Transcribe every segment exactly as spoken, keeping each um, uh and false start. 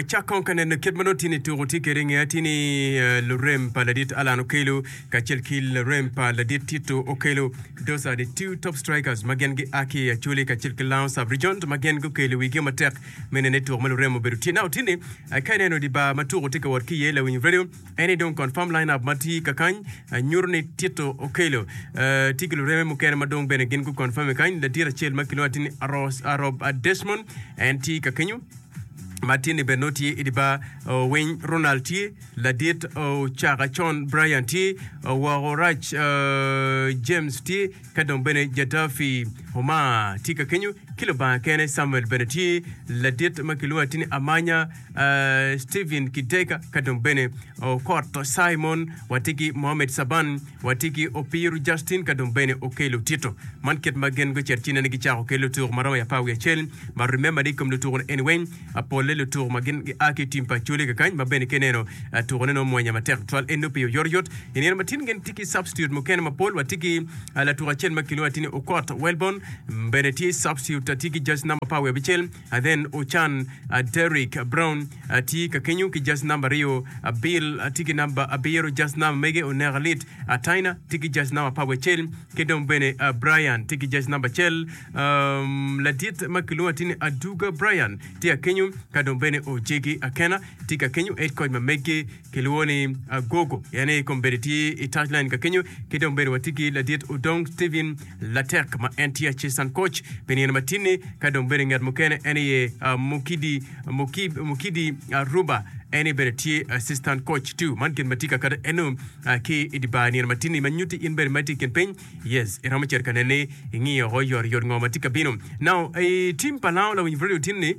Wacak kong ka neno kit ma nongo tye ni tuko tye kwede i nge tye ni eh, lurem pa ladit Alan Okello kacel ki lurem pa ladit Tito Okello. Those are the two top strikers ma gin gia ki i Acholi kacel ki Lango sub-region ma gin gukelo wigi matek me nene tuko ma lurem obedo tye. Now tye ni eh, ka ineno di bar ma tuko tye ka wot ki iye lawiny radio en ni dong confirm line-up ma tye kakany eh, nyuto ni Tito Okello eh, tye ki lureme mukene ma dong bene gin gu confirm kany ladit acel ma kilwongo tye ni Aros Arob Desmond en tye kakenyo ma tye ni bene nongo tye i di bar uh, Winy Ronald tye ladit Ocaka Con Brian tye Woko Rac uh, James tye ka dong bene Jadafi Omar tye ka kenyo ki Lubanga kene Samuel bene tye ladit ma kilwongo tye ni Amanya uh, Stephen Kideka ka dong bene Okot Simon watye ki Mohamed Saban watye ki Opiru Justin ka dong bene Okelo Tito man kit ma gin gucito ci nene gicako kelo tuko ma romo apar wiye acel but remember ni kom lutuko ni anyway polle lutuko ma gin gia ki i tim pa Acholi kakany ma bene kineno uh, tukone nongo mwanya matek twal en nongo pi oyotoyot i nino ma tin gin tye ki substitute mukene mapol watye ki uh, latuko acel ma kilwongo tye ni Okot Welborn bene tye substitute tye ki jersey number apar wiye abicel and then Ochan uh, Derrick Brown uh, tye ka kenyo ki jersey number aryo uh, Bill uh, tye ki number abiro jersey number mege Oneka Lit uh, Taina tye ki jersey number apar wiye acel ki dong bene uh, Brian tye ki jersey number acel um, ladit ma kilwongo tye ni Aduga Brian tye akenyo ka dong bene Ojegi Akena tye ka kenyo head coach ma megi kilwongo ni uh, Gogo yani kombeddi tye i touchline ka kenyo ki dong bene watye ki ladit Odong Steven Latek ma en tye assistant coach pi nino matinni ka dong bene ngat mukene en aye uh, Mukidi Mukidi, Mukidi uh, Ruba en bene tye assistant coach too man gin ma tye ka kata eno uh, ki i di bar nino matinni ma nyuti in bene ma tye i kin piny yes iromo cito ka nene ing'iyo oko yot yot ngo ma tye ka bino now i team pa Lango lawiny radio tinni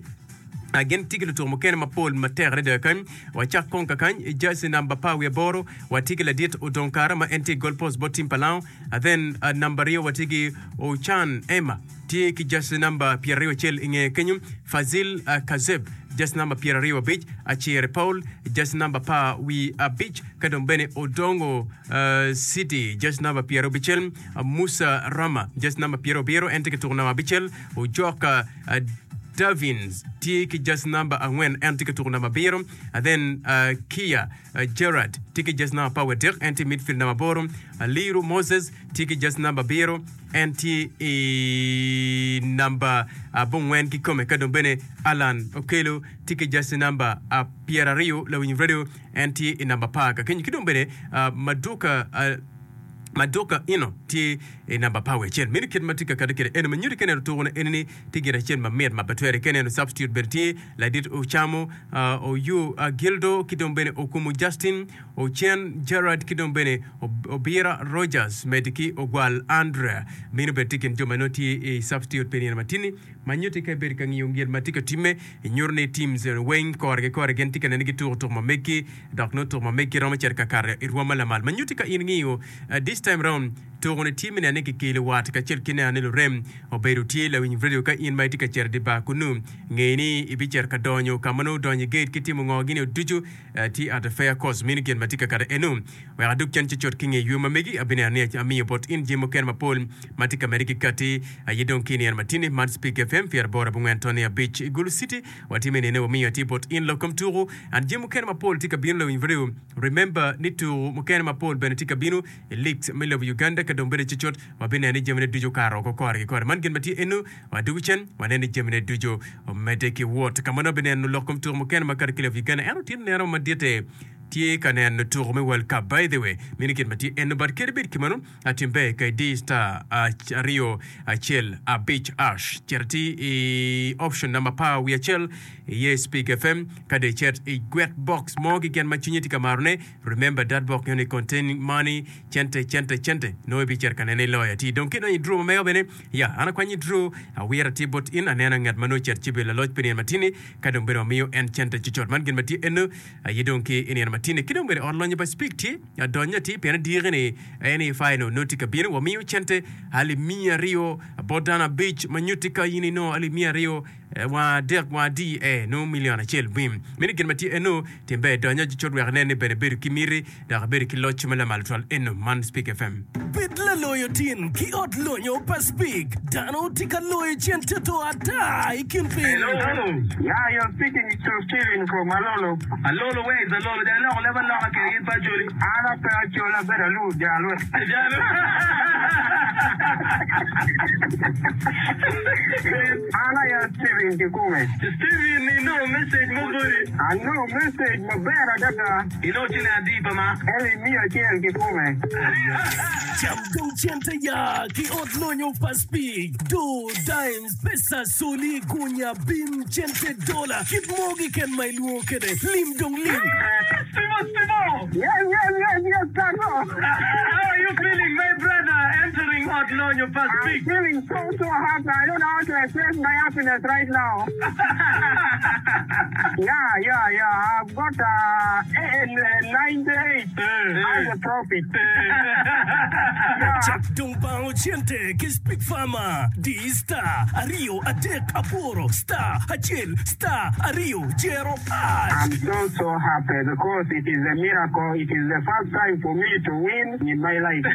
Uh, gin tye ki lutuko mukene mapol matek adada kany wacak kong kakany i jersey number apar wiye aboro watye ki ladit Odong Kara ma en tye goal post bot team pa Lango and then uh, number aryo watye ki Ochan Emma tye ki jersey number pyeraryo acel i ngeye kenyo Fazil uh, Kazeb jersey number pyeraryo abic Acire Paul jersey number apar wi abic ka dong bene Odongo uh, City jersey number pyeraryo abicel uh, Musa Rama jersey number pyeraryo abiro en tye ki tuko number abicel Ojoka uh, Davins tye ki jersey number angwen en tye ka tuko number abiro and then uh, Kia uh, Gerard tye ki jersey number apar wiye adek en tye midfield number aboro uh, Liru Moses tye ki jersey number abiro en tye i number abongwen kikome ka dong bene Alan Okello tye ki jersey number uh, pyeraryo lawiny radio en tye i number apar ka kenyo ki dong bene uh, Maduka uh, Maduka ino tye i namba apar wiye acel meno kit ma tye ka kati kwede eno ma nyuto ka ineno tuko eni ni tye gin acel mamit ma pe twere ka ineno substitute bene tye ladit Ocamo uh, Oyu uh, Gildo ki dong bene Okumu Justin Ocen Gerard ki dong bene Ob- Obira Rogers med ki Ogwal Andrea meno bene tye kin jo ma nongo tye i substitute pi nino matini ma nyuto ka ibedo ka ngiyo gin ma tye ka timme inyuto ni teams weng kore ki kore gin tye ka neno gituko tuko ma meggi dok nongo tuko ma meggi romo cito ka kato i rwom ma lamal ma nyuto ka in ngiyo uh, this time round tuko ni tye me neno ni kikelo wat kacel ki neno ni lurem obedo tye lawiny radio ka in ma itye ka cito di bar kunu nge ni ibicito ka donyo ka ma nongo odonyo i gate ki timo ngo gini ducu uh, tye at a fair cost meno gin ma tye ka kato eno wek adug cen cucut ki nge ywe ma megi abineno ni amiyo bot in jami mukene mapol ma tye ka medde ki kati aye dong ki nino matini man Speak FM pyera aboro abongwen toni abic i Gulu City watye me nene wamiyo atye bot in lok kom tuko and jami mukene mapol tye ka bino lawiny radio remember ni tuko mukene mapol bene tye ka bino i leagues me lobo Uganda ka dong bene cucut wabineno ni jamine ducu okato oko kore ki kore man gin ma tye eno wadugo cen waneno ni jamine ducu omedde ki wot ka ma nongo bineno lok kom tuko mukene ma kato ki lobo Uganda ento tye neno madite tye ka neno tuko me World Cup by the way meno gin ma tye eno but kadi bed kimano atim ber ka idi star aryo acel abic hash cito ti i option number apar wiye acel iye Speak FM ka dong icit i gwet box mo keken ma cwinyi tye ka marone remember that box ni containing money cente cente cente nongo ibicito ka nene iloyo ati dong kidonyo i draw ma mega bene ya an akwanyo i draw awiro atye bot in aneno ngat ma nongo ocito ci bedo laloc pi nino matini ka dong bene wamiyo en cente cucut man gin ma tye eno aye dong ki i nino matini ki dong bene ot lonyo pa Speak tye adonyo atir pien adiki ni en i final nongo tye ka bino wamiyo cente alip miya aryo bot dano abic ma nyutti ka in inongo alip miya aryo wa adek wa adi e nongo million acel bim meno gin ma tye eno tim ber donyo cucut wek inen ni bene bedo ki miti dok ibedo ki loc ma lamal twal eno man Speak FM. Bed laloc loyo tin ki ot lonyo pa Speke. Dano tye ka loyo cente to ata i kin piny. Hello. Yeah, you're speaking to Steven from Alolo. Alolo, where is Alolo? Jal loko leb aloka kede gin pa Acholi. An ape Acholi, abedo alu jal we. Jal. An aye Steven kikume. Steven, inongo message mo boti. Anongo message maber adada. Inongo ciling adi pa ma? Eli miya acel kikume. Cam dong cente ya ki ot lonyo pa Speke. Do, dimes, pesa, soli, gunya, bim, cente, dola, kit mo keken ma ilwongo kwede. Lim dong lim. Steve, Steve! Yes, yes, yes, yes, Tato. How are you feeling, my brother, entering Ot Lonyo pa I'm Speke? feeling so, so happy. I don't know how to express my happiness right now. Yeah, yeah, yeah. I've got uh, ninety-eight as a profit. Yeah. Cak dong bango cente ki Speke Farmer. Di star aryo adek aboro star acel star aryo jero hash. I'm so, so happy because it is a miracle. It is the first time for me to win in my life.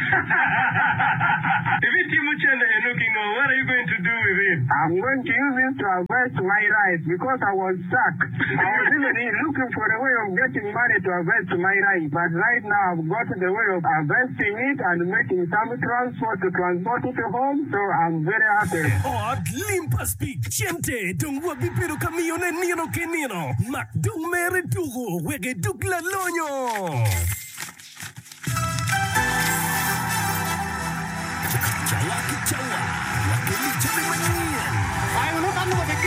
If it Timuchende Enukingo, what are you going to do with it? I'm going to use it to harvest my rice because I was stuck. I was even looking for a way of getting money to harvest my rice. But right now I've got the way of harvesting it and making some transport to transport it home. So I'm very happy. Ot lim pa Speke. Cente dong wabibedo ka miyone nino ki nino. Mak dong mere tuko wek idug lalonyo.